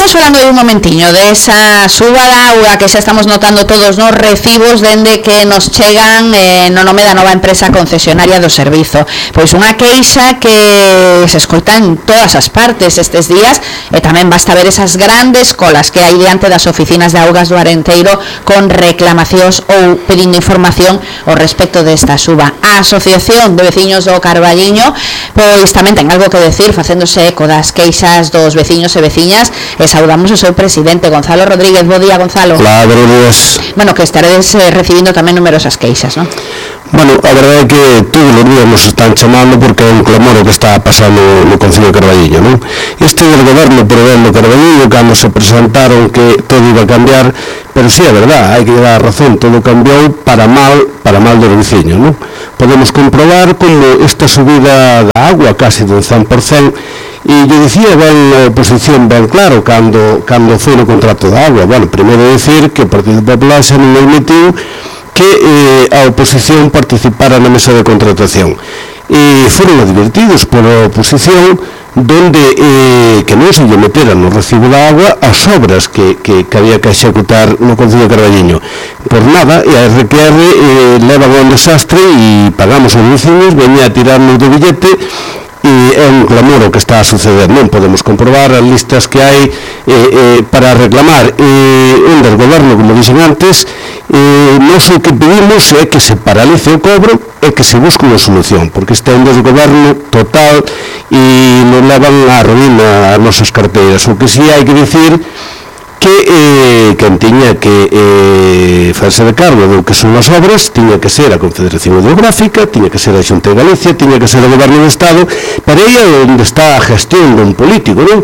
Estivemos falando un momentiño desa suba da auga que xa estamos notando todos nos recibos dende que nos chegan no nome da nova empresa concesionaria do servizo. Pois unha queixa que se escoita en todas as partes estes días e tamén basta ver esas grandes colas que hai diante das oficinas de augas do Arenteiro con reclamacións ou pedindo información ao respecto desta suba. A Asociación de Veciños do Carballiño pois tamén ten algo que decir facéndose eco das queixas dos veciños e veciñas e saudamos o seu presidente, Gonzalo Rodríguez. Bo día, Gonzalo. Hola, buenos días. Bueno, que estaredes recibindo tamén numerosas queixas, non? Bueno, a verdade é que todos os días nos están chamando porque é un clamor o que está pasando no Concello de Carballiño, non? Este del goberno provendo Carballiño, cando se presentaron que todo iba a cambiar, pero sí, é verdade, hai que dar a razón, todo cambiou para mal dos veciños, non? Podemos comprobar como esta subida da agua, casi do 100%, e yo dicía ben a oposición ben claro cando foi no contrato da agua. Bueno, primeiro decir que o Partido Popular xa non admitiu que a oposición participara na mesa de contratación e foron advertidos pola oposición donde que non se lle meteran no recibo da agua as obras que había que executar no Concello de Carballiño por nada, e a RQR leva un desastre e pagamos os veciños, veña a tirarnos do billete e é un clamor o que está a suceder. Non podemos comprobar as listas que hai para reclamar un del goberno, como dixen antes. Nós o que pedimos é que se paralice o cobro e que se busque unha solución, porque este é un desgoberno total e nos levan a ruína as nosas carteiras. O que si hai que dicir que quen tiña que farse de cargo do que son as obras tiña que ser a Confederación Hidrográfica, tiña que ser a Xunta de Galicia, tiña que ser o Goberno do Estado, pero aí é onde está a gestión dun político, non?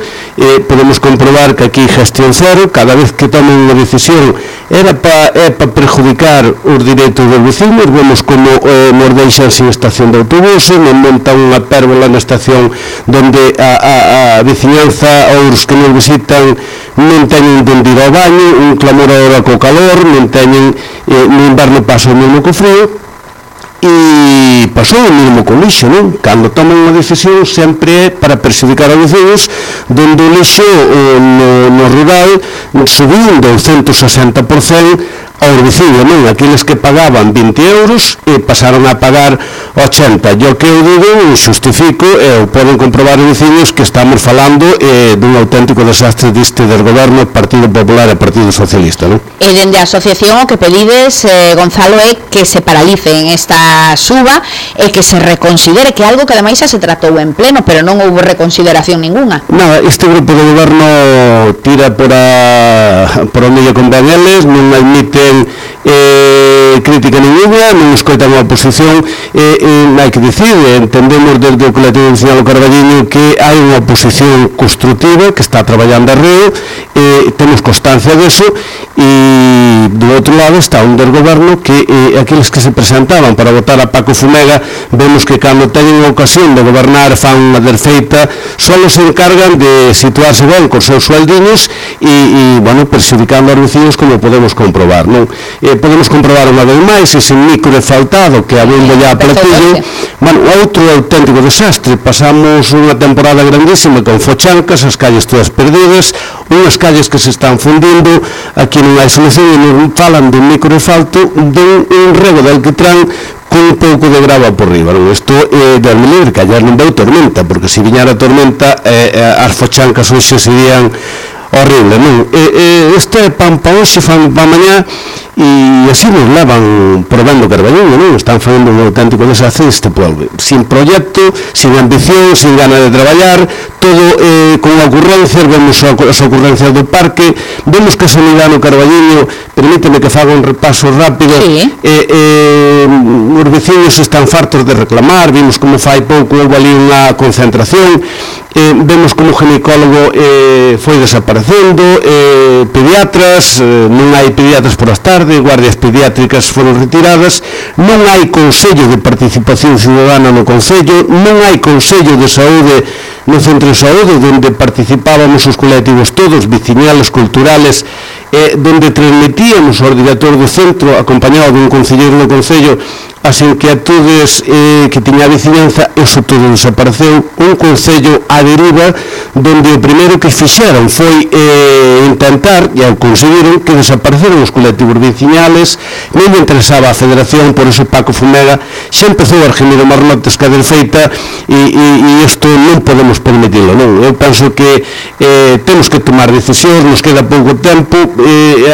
Podemos comprobar que aquí gestión cero, cada vez que toman unha decisión é para perjudicar os direitos dos vecinos. Vemos como nos deixan sin estación de autobuses, nos montan unha pérgola na estación donde a veciñanza ou os que nos visitan non teñen donde ir ao baño, un clamor agora co calor, non teñen no inverno pasa o mesmo co frío e pasou o mesmo co lixo, non? Cando toman unha decisión sempre é para perjudicar a vecinos, donde o lixo no rural subindo un 160% aos vecinos, non? Aqueles que pagaban 20 euros e pasaron a pagar 80. E o que eu digo, eu justifico, e poden comprobar os vecinos que estamos falando dun auténtico desastre deste del goberno Partido Popular e Partido Socialista, non? E dende a asociación o que pedides, Gonzalo, é que se paralice en esta suba e que se reconsidere, que algo que ademais xa se tratou en pleno, pero non houve reconsideración ninguna. Nada, este grupo de goberno tira por o medio con ben eles, non admiten crítica ninguna, non escoitan a oposición. Hai que dicir, entendemos desde o colectivo vecinal do Carballiño que hai unha oposición constructiva que está traballando a río, temos constancia deso, e do outro lado está un del goberno que aqueles que se presentaban para votar a Paco Fumega, vemos que cando teñen a ocasión de gobernar fan unha desfeita, só se encargan de situarse ben cos seus sueldiños e bueno, perxudicando aos vecinos, como podemos comprobar, non? Podemos comprobar unha vez máis ese micro faltado que a bombo ya a platillo. Bueno, outro auténtico desastre. Pasamos unha temporada grandísima con fochancas, as calles todas perdidas, unhas calles que se están fundindo, aquí non hai solución e non falan dun micro falto dun rego de alquitrán con un pouco de grava por riba, non? Isto é de almelibre, que ayer non veu tormenta, porque se viñara a tormenta as fochancas hoxe serían horrible, non? Este pan pa hoxe, fan pa mañá, e así nos levan provendo Carballiño, non? Están facendo un auténtico desastre este pueblo, sin proxecto, sin ambición, sin gana de traballar, todo con ocurrencias. Vemos as ocurrencias do parque, vemos que a sanidade no Carballiño, permíteme que faga un repaso rápido, sí. Os vecinos están fartos de reclamar, vimos como fai pouco houve ali unha concentración, vemos como o ginecólogo foi desaparecendo, pediatras, non hai pediatras por as tardes, guardias pediátricas foron retiradas, non hai Consello de Participación Ciudadana no Concello, non hai Consello de Saúde no Centro de Saúde, onde participábamos os colectivos todos, veciñales, culturales, donde transmitíamos ao director do centro, acompañado dun concelleiro do Concello, as inquietudes que tiña a veciñanza, eso todo desapareceu. Un concello á deriva donde o primeiro que fixeron foi intentar, e ao conseguiron, que desapareceron os colectivos veciñales. Non lle interesaba a Federación, por eso Paco Fumega xa empezou a remir o marnotes que a desfeita, e isto non podemos permitirlo, non? Eu penso que temos que tomar decisións, nos queda pouco tempo,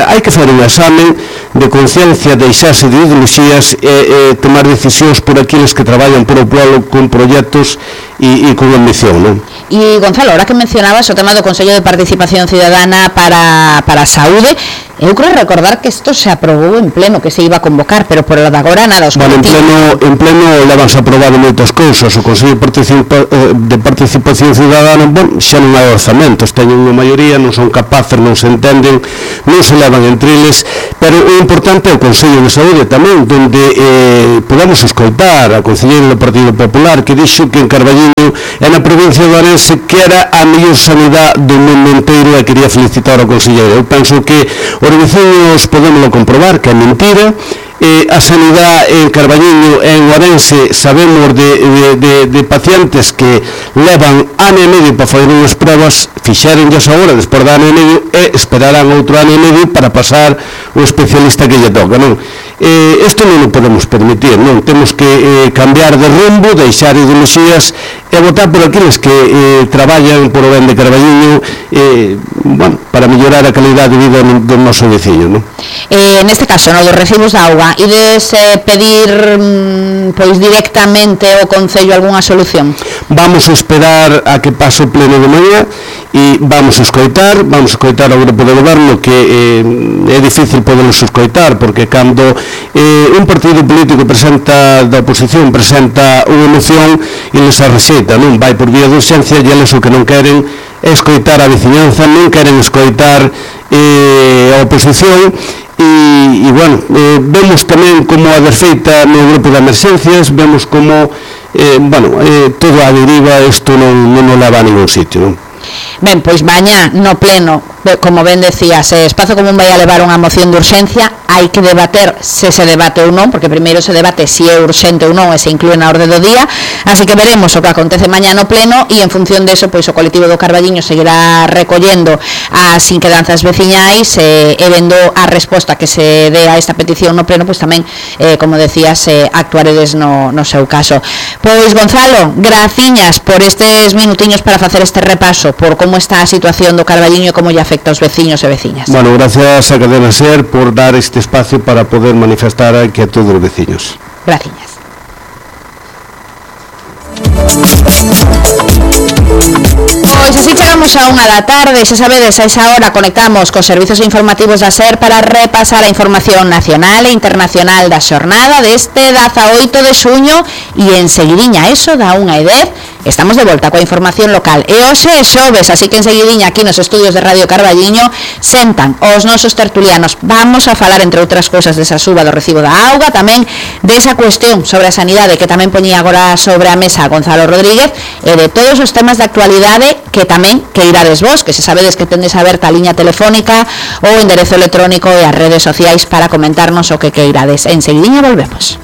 hai que fazer un examen de conciencia, deixarse de ideoloxías e tomar decisións por aqueles que traballan por o pueblo con proxectos e con ambición, non? E Gonzalo, ahora que mencionabas o tema do Consello de Participación Ciudadana para a Saúde, eu creo recordar que isto se aprobou en pleno, que se iba a convocar, pero por lo de agora nada. Bueno, en pleno levanse aprobado moitas cousas. O Consello de Participación Ciudadana, bueno, xa non hai orzamentos, teñen unha maioría, non son capaces, non se entenden, non se levan entre eles, pero o importante é o Consello de Saúde tamén, donde podemos escoitar a concelleira do Partido Popular que dixo que en Carballiño e na provincia de Ourense que era a mellor sanidade do mundo inteiro, e quería felicitar ao conselleiro. Eu penso que os veciños podémoslo comprobar que é mentira. A sanidade en Carballiño e en Ourense sabemos de pacientes que levan ano e medio para fazer unhas pruebas, fixéronllas agora despois de ano e medio e esperarán outro ano e medio para pasar o especialista que lle toca, non? Isto non o podemos permitir, non? Temos que cambiar de rumbo, deixar ideoloxías e votar por aqueles que traballan por o ben de Carballiño, bueno, para mellorar a calidade de vida do noso veciño, non? Neste caso, no dos recibos de auga, ides pedir pois directamente ao Concello algunha solución? Vamos a esperar a que pase o pleno de mañá e vamos a escoitar ao grupo de goberno, que é difícil poderlos escoitar, porque cando un partido político da oposición presenta unha moción e les a rexeita, non? Vai por vía de urxencia, e eles o que non queren é escoitar a veciñanza, non queren escoitar a oposición. E bueno, vemos tamén como a desfeita no grupo de emerxencias, vemos como todo a deriva, isto non leva a ningún sitio, non? Ben, pois mañá no pleno, como ben decías, Espazo Común vai a levar unha moción de urxencia. Hai que debater se debate ou non, porque primeiro se debate se é urxente ou non e se inclúe na orde do día, así que veremos o que acontece mañá no pleno, e en función deso, pois o colectivo do Carballiño seguirá recollendo as inquedanzas veciñais e vendo a resposta que se dé a esta petición no pleno, pois tamén, como decías, actuaredes no seu caso. Pois Gonzalo, graciñas por estes minutiños para facer este repaso por como está a situación do Carballiño e como lle afecta aos veciños e veciñas. Bueno, gracias a Cadena SER por dar este espacio para poder manifestar a inquietud dos veciños. Gracias. Pois así chegamos a 1 da tarde, xa sabedes, a esa hora conectamos cos servizos informativos da SER para repasar a información nacional e internacional da xornada deste 18 de xuño, e enseguidiña, eso da 1:10, estamos de volta coa información local. E hoxe é xoves, así que enseguidiña aquí nos estudios de Radio Carballiño sentan os nosos tertulianos. Vamos a falar, entre outras cousas, desa suba do recibo da auga, tamén desa cuestión sobre a sanidade que tamén poñía agora sobre a mesa Gonzalo Rodríguez, e de todos os temas de actualidade que tamén que irades vos, que se sabedes que tendes aberta a liña telefónica, o enderezo electrónico e as redes sociais para comentarnos o que irades. Enseguidiña volvemos.